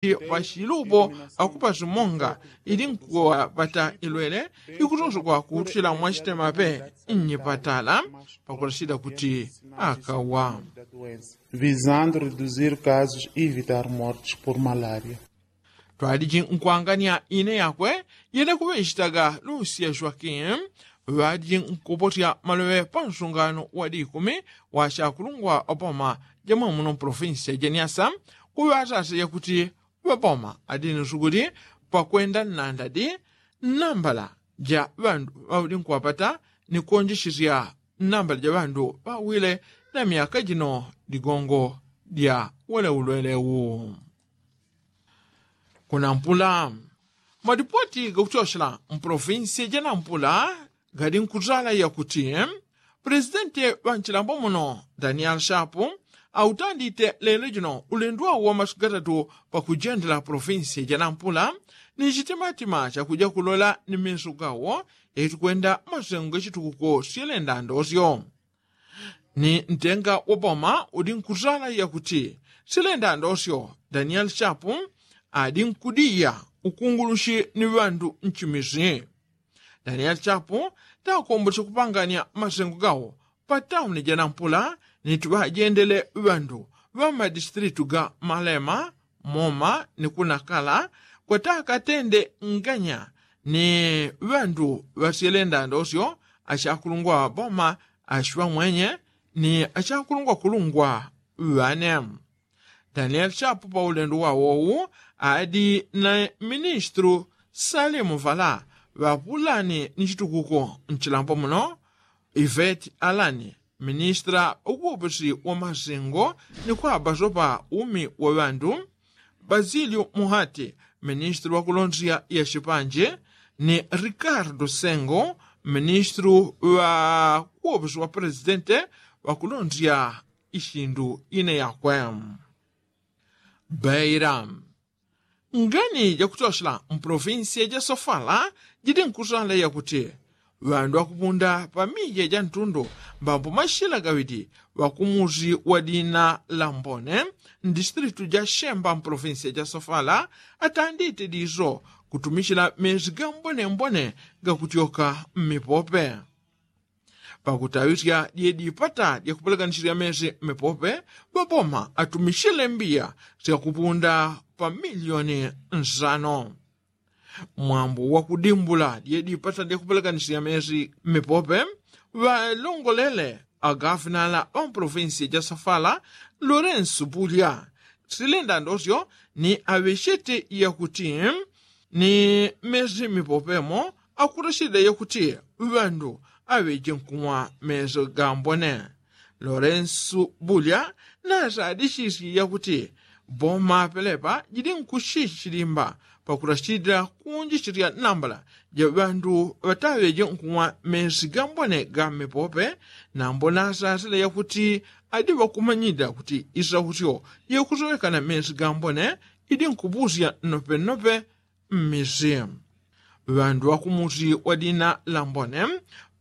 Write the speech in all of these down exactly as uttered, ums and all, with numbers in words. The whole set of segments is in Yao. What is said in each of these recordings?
Pachilupo akupasi monga ili nkuwapata ilwele ikutosokwa kuutila mwachitemape nnyipatala pakulasila kuti akawa. Visando reduzir kasus ivitar mortis por malaria. Twaliji nkwangania ine yakwe yene kuŵechitaga lusia joakim ŵaliji nkupotya maloŵe pansungano wa dikumi wa chakulungwa opoma jamwe muno mpolofinsia janiasa kuŵatasa yakuti ŵapoma adini sukuli pakwenda nnandadi nnambala ja ŵandu ŵauli nkuŵapata ni kuonjesisya nnambala ja ŵandu ŵawile na myaka jino ligongo lya weleulweleu. Kunampula malipoti gakutyosela mpolofinsi janampula gali nkutala yakuti pulesidenti ŵa nchilambo muno daniel shapu autandite lelo jino ulendo wawo wa masiku gatatu pakujendela polofinsi janampula ni chitimatima chakuja kulola ni meso gawo yaitukwenda masengo gachitukuko syelendandosyo. Ni ntenga wa boma uli nkutala yakuti silenda ndosyo daniel chapu adi nkudiya ukungulushi ni ŵandu nchimisi. Daniel chapu takombole kupanganya masengo gawo pa tauni janampula ni tiŵajendele ŵandu ŵa madistritu ga malema moma ni kunakala kwatakatende nganya ni ŵandu ŵasyele ndandosyo achakulungwa ŵa boma ashiŵa mwenye ni achakulungwa kulungwa ŵane. Daniel chapu pa ulendo wawowu adi na ministru salimu vala ŵapulani ni chitukuko nchilambo muno iveti alani ministra ukuwoposi wa masengo ni kwaba sopa umi wa ŵandu basilio muhati ministru wa kulonzya ya chipanje ni rikardo sengo ministru wa kuwoposi wa presidente wa kulonzya ishindu ine yakwe. Beira ngani jakutyosela mpolofinsiya ja sofala jidi nkusala yakuti ŵandu ŵakupunda pa mija ja ntundu mbambo mashila gaŵidi ŵakumusi wa dina la mbone mdistritu ja shemba mpolofinsiya ja sofala atandite diso kutumichila mezi ga mbonembone gakutyoka mmipope. Pakutaŵisya dye dipata dyakupeleganisya mezi mmipope ŵaboma atumichile mbiya syakupunda pa milioni nsano. Mwambo wakudimbula dye dipata dyakupeleganisya mezi mmipope ŵalongolele agafinala ŵampolofinsiya ja sofala lorensu bulya silenda ndosyo ni aŵechete yakuti ni mezi mipopemo akutachilila yakuti ŵandu aŵeje nkumwa mezi gambone. Lorensu bulya nasadichisye yakuti boma pelepa jidi nkuchichilimba pakutachilila kuunjichisya nambala ja ŵandu ŵataŵeje nkumwa mezi gambone ga mmipope. Nambo nasasile yakuti adi ŵakumanyilila kuti isautyo yakusowekana mezi gambone idi nkupusya nnopennope mmisi. Ŵandu ŵakumusi wa dina la mbone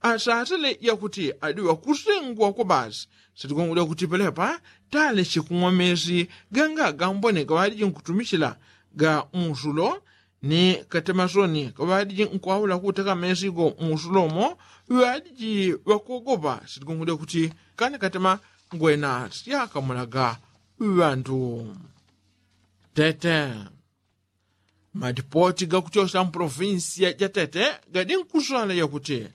asasile yakuti adi ŵakusengwa kwa basi sitigongo lyakuti pelepa taleche kumwa mezi ganga gambone gaŵaliji nkutumichila ga musulo ni katemasoni kaŵaliji nkwaula kuteka mezi go musulo mo ŵaliji ŵakogopa sitigongo lyakuti kani katema ngwena syakamulaga ŵandu. Tete madipoti gakutyosela mpolofinsiya ja tete gadi nkusala yakuti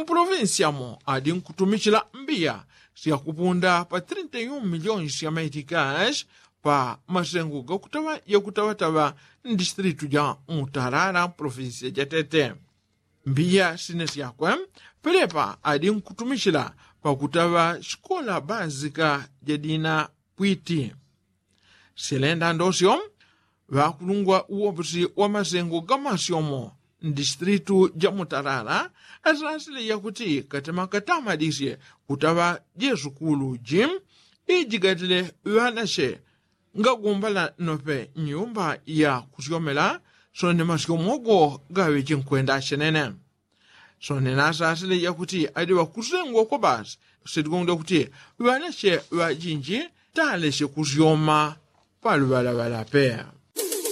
mpolofinsiya mo adi nkutumichila mbiya syakupunda pa trinta i un miliyoni sya maitikas pa masengo gakutaŵa yakutaŵataŵa mdistritu ja mutalala mpolofinsiya ja tete. Mbiya sine syakwe pelepa adi nkutumichila pakutaŵa sikola bazika ja dina pwiti. Silenda ndosyo ŵakulungwa uwoposi wa masengo gamasyomo mdistritu ja mutalala asasile yakuti katema katamadisye kutaŵa jesukulu ji ijigatile ŵanache ngagumbala nope nyumba ya kusyomela sone masyomo go gaŵeje nkwenda chenene. Sone nasasile yakuti adi ŵakusengwa kwa basi sitigongo lyakuti ŵanache ŵajinji taleche kusyoma paluŵalaŵala pe.